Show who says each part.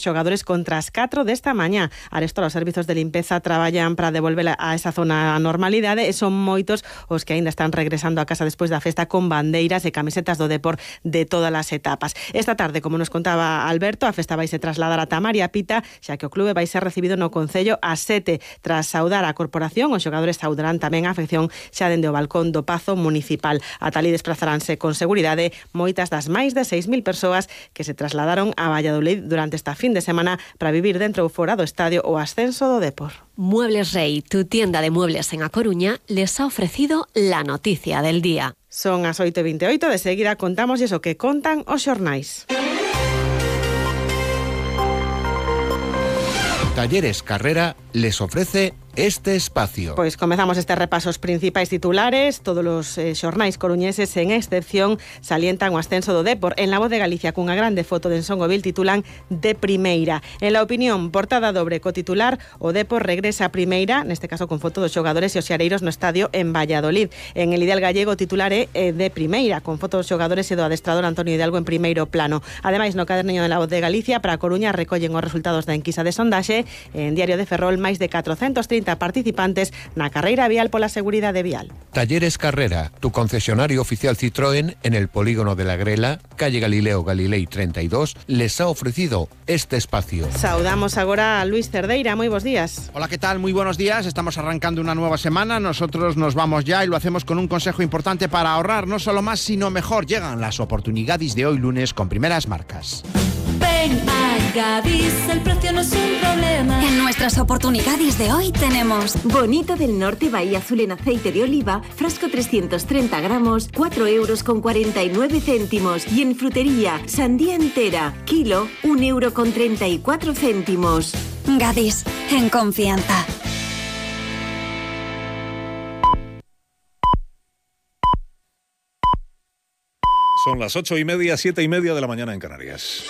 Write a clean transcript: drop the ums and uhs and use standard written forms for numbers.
Speaker 1: xogadores contra as 4 desta mañá. Arestora, os servizos de limpeza traballan para devolver a esa zona a normalidade e son moitos os que aínda están regresando a casa despois da festa con bandeiras e camisetas do Depor de todas as etapas. Esta tarde, como nos contaba Alberto, a festa vaise trasladar a Tamaria Pita, xa que o clube vai ser recibido no Concello ás 7. Tras saudar a corporación, os xogadores saudarán tamén a afección xa dende o balcón do Pazo Municipal. Ata alí desplazaránse con seguridade moitas das máis de 6.000 persoas que se trasladaron a Valladolid durante esta fin de semana para vivir dentro ou fora do estadio o ascenso do Depor.
Speaker 2: Muebles Rey, tu tienda de muebles en A Coruña, les ha ofrecido la noticia del día.
Speaker 1: Son as 8:28, de seguida contamos iso que contan os xornais.
Speaker 3: Talleres Carrera les ofrece este espacio.
Speaker 1: Pois comezamos este repaso os principais titulares. Todos os xornais coruñeses, sen excepción, salientan o ascenso do Depor. En La Voz de Galicia, cunha grande foto de Ensongovil, titulan de primeira. En La Opinión, portada dobre co titular: o Depor regresa a primeira, neste caso con foto dos xogadores e os xareiros no estadio en Valladolid. En El Ideal Gallego, o titular é de primeira, con foto dos xogadores e do adestrador Antonio Hidalgo en primeiro plano. Ademais, no caderniño de La Voz de Galicia, para a Coruña, recollen os resultados da enquisa de sondaxe. En Diario de Ferrol, máis de 430 participantes na carreira vial pola seguridade vial.
Speaker 3: Talleres Carrera, tu concesionario oficial Citroën en el polígono de la Grela, calle Galileo Galilei 32, les ha ofrecido este espacio.
Speaker 1: Saudamos agora a Luis Cerdeira. Moi bons días.
Speaker 4: Hola, ¿qué tal? Muy buenos días. Estamos arrancando una nueva semana. Nosotros nos vamos ya y lo hacemos con un consejo importante para ahorrar no solo más, sino mejor. Llegan las oportunidades de hoy lunes con primeras marcas.
Speaker 5: Ven a Gadis, el precio no es un problema.
Speaker 6: En nuestras oportunidades de hoy tenemos
Speaker 7: Bonito del Norte Bahía Azul en aceite de oliva, frasco 330 gramos, 4,49 €. Y en frutería, sandía entera, kilo, 1,34 €.
Speaker 6: Gadis, en confianza.
Speaker 8: Son las 8:30, 7:30 de la mañana en Canarias.